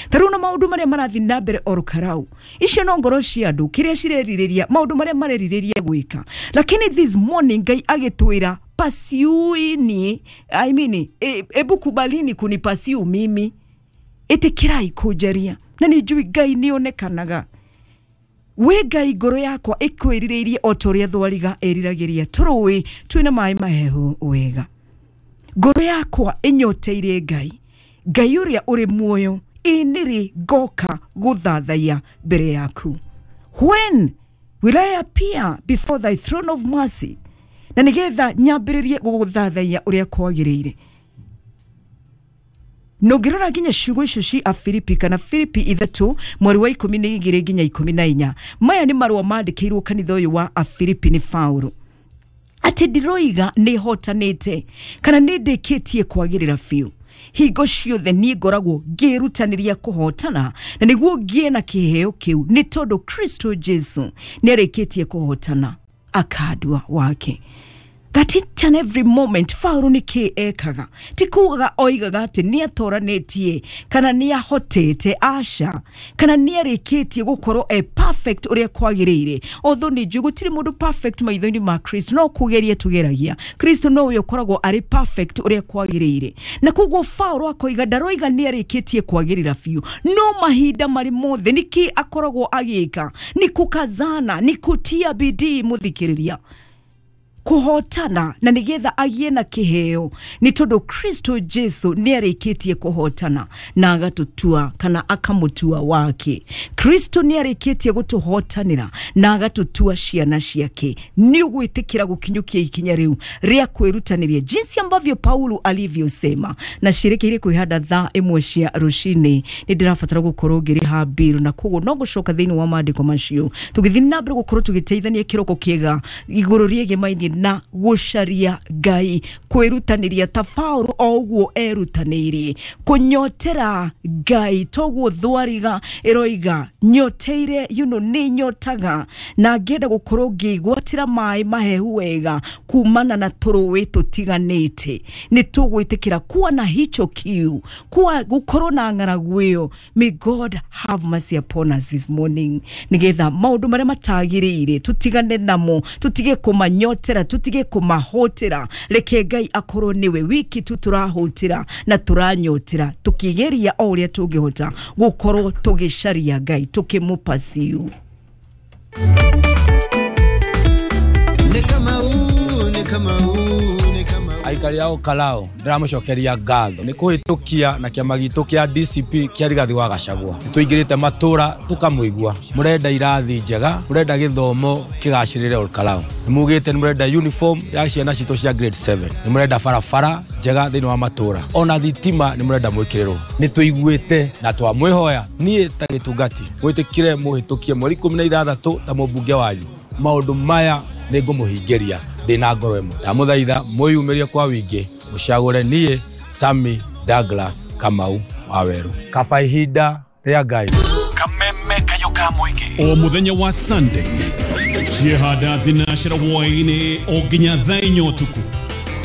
Ta rĩu na maũndũ marĩa marathiĩ na mbere Ol Kalou, icio no ngoro cia andũ kĩrĩa cirerirĩria, maũndũ marĩa marerirĩria gwĩka. Lakini this morning Ngai agĩtwĩra pursuini, I mean, ebu kubalini kunipursue mimi, ĩtĩkĩrai kũnjaria na nĩ njũĩ Ngai nĩ onekanaga. We Ngai, ngoro yakwa ĩkwĩrirĩirie o ta ũrĩa thwariga ĩriragĩria tũrũĩ twĩna maĩ mahehu wega. Ngoro yakwa ĩnyoteire Ngai, Ngai ũrĩa ũrĩ muoyo. Ĩ nĩrĩ ngoka gũthathaiya mbere yaku? When will I appear before thy throne of mercy? Na nĩgetha nyambĩrĩrie gũgũthathaiya ũrĩa kwagĩrĩire. Na ũngĩrora nginya ciugo icio ci Afilipi kana Filipi 3 mweri wa 12 nginya 14, maya nĩ marũa mandĩkĩirwo kanitha ũyũ wa Afilipi nĩ Paulo, atĩ ndiroiga nĩ hotanĩte kana nĩ ndĩkĩtie kwagĩrĩra biũ. Hingo ciothe niĩ ngoragwo ngĩrutanĩria kũhotana na nĩguo ngĩe na kĩheo kĩu, nĩ tondũ Kristo Jesu nĩ arĩkĩtie kũhotana akandua wake. That each and every moment Paulo nĩ kĩ ekaga? Ti kugaga oigaga atĩ nĩ atoranĩtie kana nĩ ahotete, aca, kana nĩ arĩkĩtie gũkorwo e perfect ũrĩa kwagĩrĩire, although nĩ njũĩ gũtirĩ mũndũ perfect maitho-inĩ ma Kristo, no kũgeria tũgeragia. Kristo nowe ũkoragwo arĩ perfect ũrĩa kwagĩrĩire. Na koguo Paulo akoiga ndaroiga nĩ arĩkĩtie kwagĩrĩra biũ, no mahinda marĩ mothe nĩkĩ akoragwo agĩka? Ni kukazana, ni kutia bidii, mũthikĩrĩria, kũhotana na nĩgetha agĩe na kĩheo, nĩ tondũ Kristo Jesu nĩ arĩkĩtie kũhotana na agatũtua kana akamũtua wake. Kristo nĩ arĩkĩtie gũtũhotanĩra na agatũtua ciana ciake. Nĩ ũgwĩtĩkĩra gũkinyũkia ikinya rĩu rĩa kwĩrutanĩria jinsi ambavyo Paulo alivyosema? Na ciĩrĩkĩire kwĩhanda thaa 1 cia rũcinĩ, nĩ ndĩrabatara gũkorwo ngĩrĩha mbiru, na koguo no gũcoka thĩinĩ wa maandĩko macio tũgĩthiĩ na mbere gũkorwo tũgĩteithania kĩroko kĩega igũrũ rĩegemainie na gũcaria Ngai, kwĩrutanĩria ta Paulo o ũguo erutanĩirie kũnyotera Ngai, toguo thwariga ĩroiga nyoteire, nĩ nyotaga na ngĩenda gũkorwo ngĩgwatĩra maĩ mahehu wega kumana na tũrũĩ tũtiganĩte. Nĩ tũgwĩtĩkĩra kuwa na hicho kiu, kuwa gũkorwo na ng'aragu ĩyo? May God have mercy upon us this morning, nĩgetha maũndũ marĩa matagĩrĩire tũtigane namo, tũtige kũmanyotera, tũtige kũmahũtĩra. Reke Ngai akorwo nĩwe wiki tu tũrahũtĩra na tũranyotera, tũkĩgeria o ũrĩa tũngĩhota gũkorwo tũgĩcaria Ngai, tũkĩmũpursue. Nĩ Kamau, nĩ Kamau, nĩ Kamau. Aikari a Ol Kalou, ndĩramũcokeria ngatho nĩ kũhĩtũkia na kĩama gitũ kĩa DCP kĩa Rigathi wa Gachagua. Nĩ tũingĩrĩte matũra tũkamũigua mũrenda irathi njega, mũrenda gĩthomo kĩgacĩrĩre Ol Kalou, nĩ mugĩte nĩ mũrenda uniform ya ciana citũ cia grade 7, nĩ mũrenda barabara njega thĩinĩ wa matũra, ona thitima nĩ mũrenda mwĩkĩrĩrwo. Nĩ tũiguĩte na twamwĩhoya niĩ ta gĩtungati mwĩtĩkire mũhĩtũkie mweri 16 ta mũmbunge wanyu. Maũndũ maya nĩ ngũmũhingĩria ndĩ na ngoro ĩmwe. Ndamũthaitha mwĩyumĩrie kwa wingĩ, mũcagũre niĩ Sami Douglas Kamau wa Weru. Kaba ihinda rĩa Ngai. Kameme kayo ka mũingĩ. O muthenya wa Sunday ciehanda thinacera hwaĩ-inĩ o nginya thaa 4 ũtukũ.